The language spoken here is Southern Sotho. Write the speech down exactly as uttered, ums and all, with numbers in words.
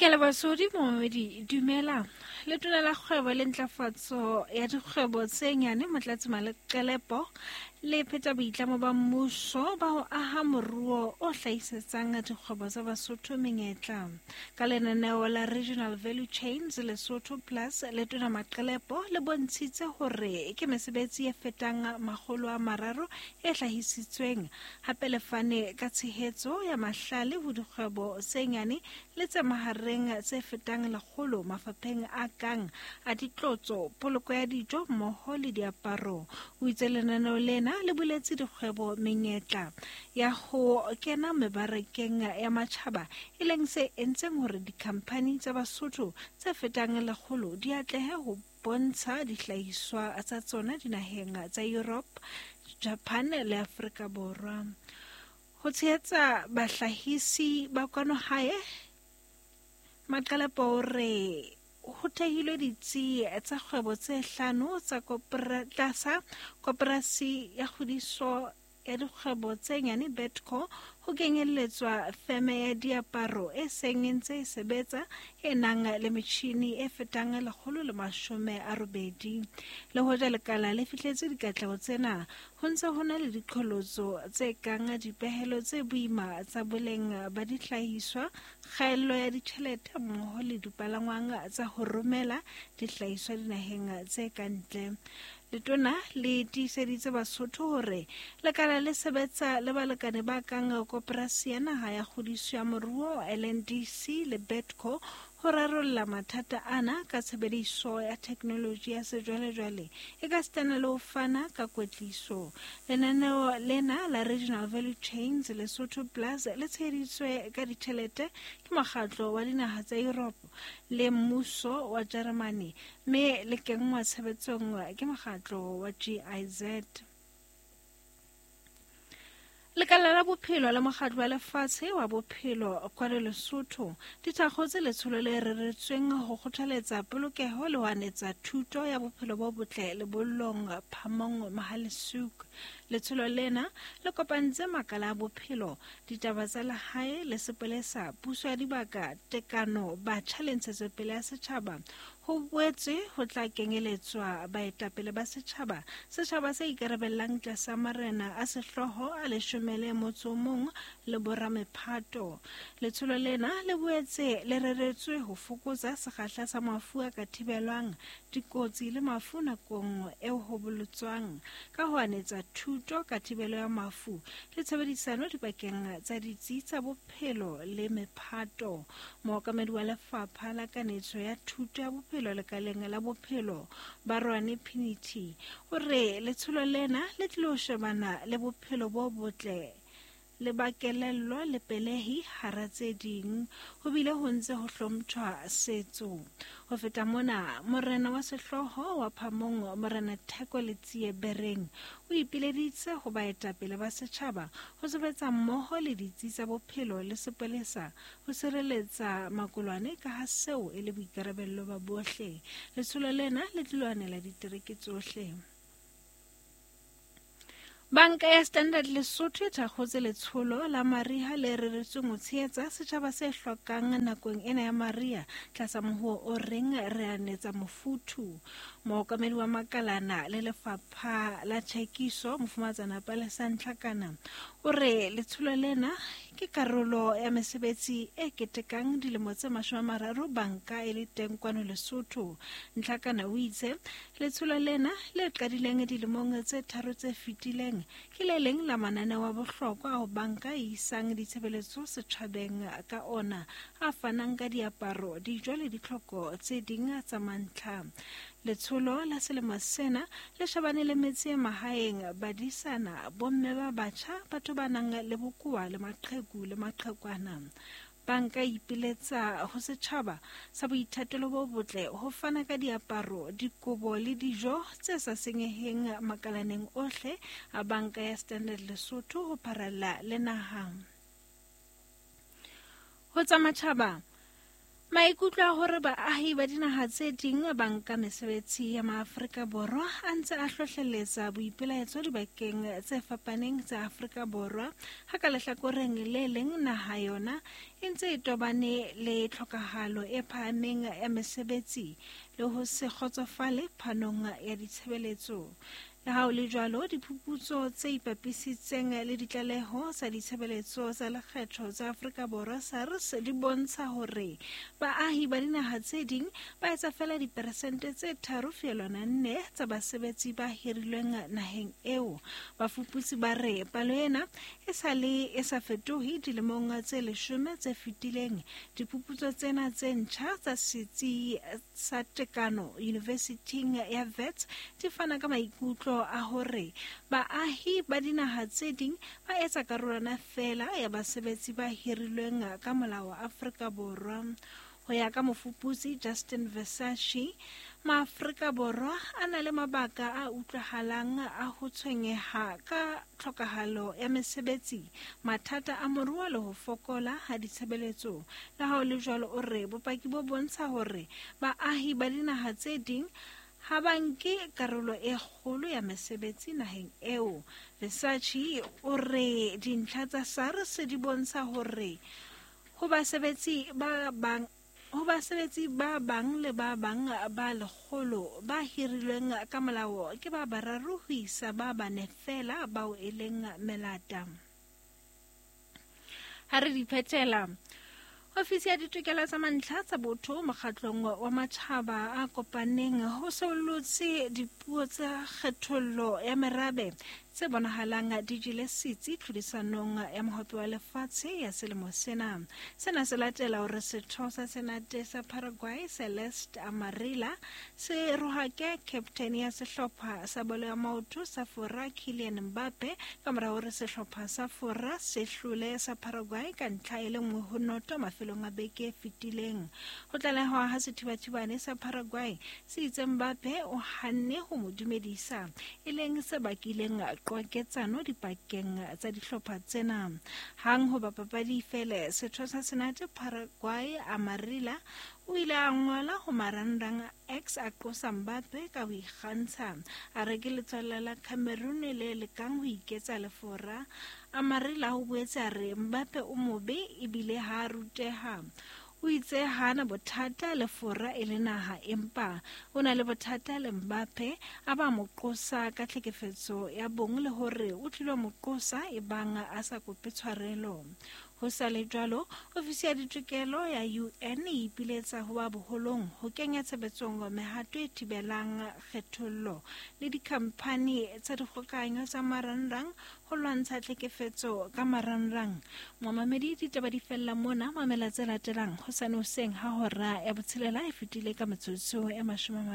Ke leboha momamedi, dumela. Letona la kgwebo le ntlafatso ya dikgwebo tse nyane Motlatsi Maqelepo le pheta boitlamo ba mmuso ba ho aha moruo o hlahisetsang dikgwebo tsa Basotho menyetla. Ka lenaneo la Regional Value Chains Lesotho Plus, Letona Maqelepo le bontshitse hore ke mesebetsi e fetang makgolo a mararo e hlahisitsweng. Hape le fane ka tshehetso ya mahlale ho dikgwebo tse nyane le tse mahareng tse fetang lekgolo mafapheng a kang a ditlotso, poloko ya dijo mmoho le diaparo. O itse lenaneo lena le buletse dikgwebo menyetla ya ho kena mebarakeng ya matjhaba, e leng se entseng hore dikhamphani tsa Basotho tse fetang lekgolo di atlehe ho bontsha dihlahiswa tsa tsona dinaheng tsa Europe, Japan le Afrika Borwa. Ho tshehetsa bahlahisi ba kwano hae, Maqelepo o re ho thehilwe ditsi tsa kgwebo tse hlano tsa tlasa koporasi ya kgodiso ya dikgwebo tse nyane Betco, ho kenyelletswa feme ya diaparo e seng e ntse e sebetsa e nang le metjhini e fetang lekgolo le mashome a robedi. Le hoja lekala le fihletse dikatleho tsena, ho ntse ho na le diqholotso tse kang dipehelo tse boima tsa boleng ba dihlahiswa, kgaello ya ditjhelete mmoho le dipalangwang tsa ho romela dihlahiswa dinaheng tse ka ntle. Letona le tiiseditse Basotho hore lekala le sebetsa le balekane ba kang Koporasi ya Naha ya Kgodiso ya Moruo L N D C le Betco ho rarolla mathata ana ka tshebediso ya theknoloji ya sejwalejwale e ka sitana le ho fana ka kwetliso. Lenaneo lena la Regional Value Chains Lesotho Plus le tsheheditswe ka ditjhelete ke mokgatlo wa dinaha tsa Europe le mmuso wa Jeremane, mme le kenngwa tshebetsong ke mokgatlo wa G I Z. Lekala la bophelo la mokgatlo wa lefatshe wa bophelo kwano Lesotho di thakgotse letsholo le reretsweng ho kgothaletsa polokeho le ho anetsa thuto ya bophelo bo botle lebollong Phamong Mohale'shoek. Letsholo lena le kopantse makala a bophelo, ditaba tsa lehae le sepolesa, puso ya dibaka, tekano, batjha le ntshetsopele ya setjhaba. Ho boetse ho tla kenyeletswa baetapele ba setjhaba, setjhaba se ikarabellang tlasa marena a sehlooho a leshome le motso o mong le boramephato. Letsholo lena le boetse le reretswe ho fokotsa sekgahla sa mafu a ka thibelwang, dikotsi le mafu nakong eo ho bolotswang, ka ho anetsa thuto ka thibelo ya mafu le tshebedisano dipakeng tsa ditsi tsa bophelo le mephato. Mookamedi wa lefapha la kanetso ya thuto ya bophelo lekaleng la bophelo Barwane Pinity o re letsholo lena le tlilo shebana le bophelo bo botle le ba kelello le pelehi hara tse ding, ho bile ho ntse ho hlomphwa setso. Ho feta mona, morena wa sehlooho wa Phamong Morena Theko Letsie Bereng o ipileditse ho baetapele ba setjhaba ho sebetsa mmoho le ditsi tsa bophelo le sepolesa ho sireletsa makolwane ka ha seo e le boikarabello ba bohle. Letsholo lena le tlilo anela ditereke tsohle. Banka ya Standard Lesotho e thakgotse letsholo la mariha le reretsweng ho tshehetsa setjhaba se hlokang nakong ena ya mariha tlasa mohuo o reng re anetsa mofuthu. Mookamedi wa makalana le lefapha la tjhekiso Mofumatsana Palesa Ntlhakana o re letsholo lena ke karolo ya mesebetsi e ketekang dilemo tse mashome a mararo banka e le teng kwano Lesotho. Ntlhakana o itse letsholo lena le qadileng dilemong tse tharo tse fetileng ke le leng la mananeo a bohlokwa ao banka e isang ditshebeletso setjhabeng ka ona, a fanang ka diaparo, dijo le ditlhoko tse ding tsa mantlha. Letsholo la selemo sena le shebane le metse e mahaeng, badisana, bomme ba batjha, batho ba nang le bokowa le maqheku le maqhekwana. Banka e ipiletsa ho setjhaba sa boithatelo bo botle ho fana ka diaparo, dikobo le dijo tse sa senyeheng makalaneng ohle a banka ya Standard Lesotho ho pharalla le naha. Ho tsa matjhaba, Maikutlo a hore baahi ba dinaha tse ding ba nka mesebetsi ya maAfrika Borwa a ntse a hlohleletsa boipelaetso dibakeng tse fapaneng tsa Afrika Borwa, ha ka lehlakoreng le leng naha yona e ntse e tobane le tlhokahalo e phahameng ya mesebetsi le ho se kgotsofale phanong ya ditshebeletso. Le ha ho le jwalo, diphuputso tse ipapisitseng le ditlaleho tsa ditshebeletso tsa lekgetho tsa Afrika Borwa SARS di bontsha hore baahi ba dinaha tse ding ba etsa feela diperesente tse tharo feelwana nne tsa basebetsi ba hirilweng naheng eo. Bafuputsi ba re palo ena e sa le e sa fetohe dilemong tse leshome tse fetileng. Diphuputso tsena tse ntjha tsa setsi sa tekano University ya Wits di fana ka maikutlo a hore baahi ba dinaha tse ding ba etsa karolwana feela ya basebetsi ba hirilweng ka molao wa Afrika Borwa. Ho ya ka mofuputsi Justin Versace, maAfrika Borwa a na le mabaka a utlwahalang a ho tshwenyeha ka tlhokahalo ya mesebetsi, mathata a moruo le ho fokola ha ditshebeletso. Le ha ho le jwalo, o re bopaki bo bontsha hore baahi ba dinaha tse ding ha ba nke karolo e kgolo ya mesebetsi naheng eo. Versace o re dintlha tsa SARS di bontsha hore ho basebetsi ba bang ho basebetsi ba bang le ba bang ba lekgolo ba hirilweng ka molao ke ba bararo ho isa ba bane feela bao e leng melata. Ha re di phethela, Ofisi ya ditokelo tsa mantlha tsa botho mokgatlong wa matjhaba a kopaneng ho sollotse dipuo tsa kgethollo ya merabe tse bonahalang di jele setsi tlhodisanong ya mohope wa lefatshe ya selemo sena. Sena se latela hore setho sa Senate sa Paraguay Celeste Amarilla se rohake captain ya sehlopha sa bolo ya maoto sa Fora Kylian Mbappe ka mora hore sehlopha sa Fora se hlole sa Paraguay ka ntlha e le nngwe ho noto mafelong a beke e fetileng. Ho tlalehwa ha sethibathibane sa Paraguay se itse Mbappe o hanne ho mo dumedisa, e leng se bakileng qwaketsano dipakeng tsa dihlopha tsena. Hang hoba papadi e fele, setho sa Senate Paraguay Amarilla o ile a ngola ho marangrang X a qosa Mbappe ka ho ikgantsha, a re ke letswalla la Cameroon le lekang ho iketsa lefora. Amarilla o boetse a re Mbappe o mobe ebile ha a ruteha. O itse hana bothata le Fora e le naha, empa o na le bothata le Mbappe, a ba mo qosa ka tlhekefetso ya bong le hore o tlilo mo qosa e bang a sa kope tshwarelo. Ho sa le jwalo, ofisi ya ditokelo ya U N e ipiletsa ho ba boholong ho kenya tshebetsong mehato e thibelang kgethollo le dikhamphani tsa dikgokahanyo tsa marangrang ho lwantsha tlhekefetso ka marangrang. Momamedi, ditaba di fella mona. Mamela tse latelang hosane hoseng ha hora ya botshelela e fetile ka metsotso e mashome a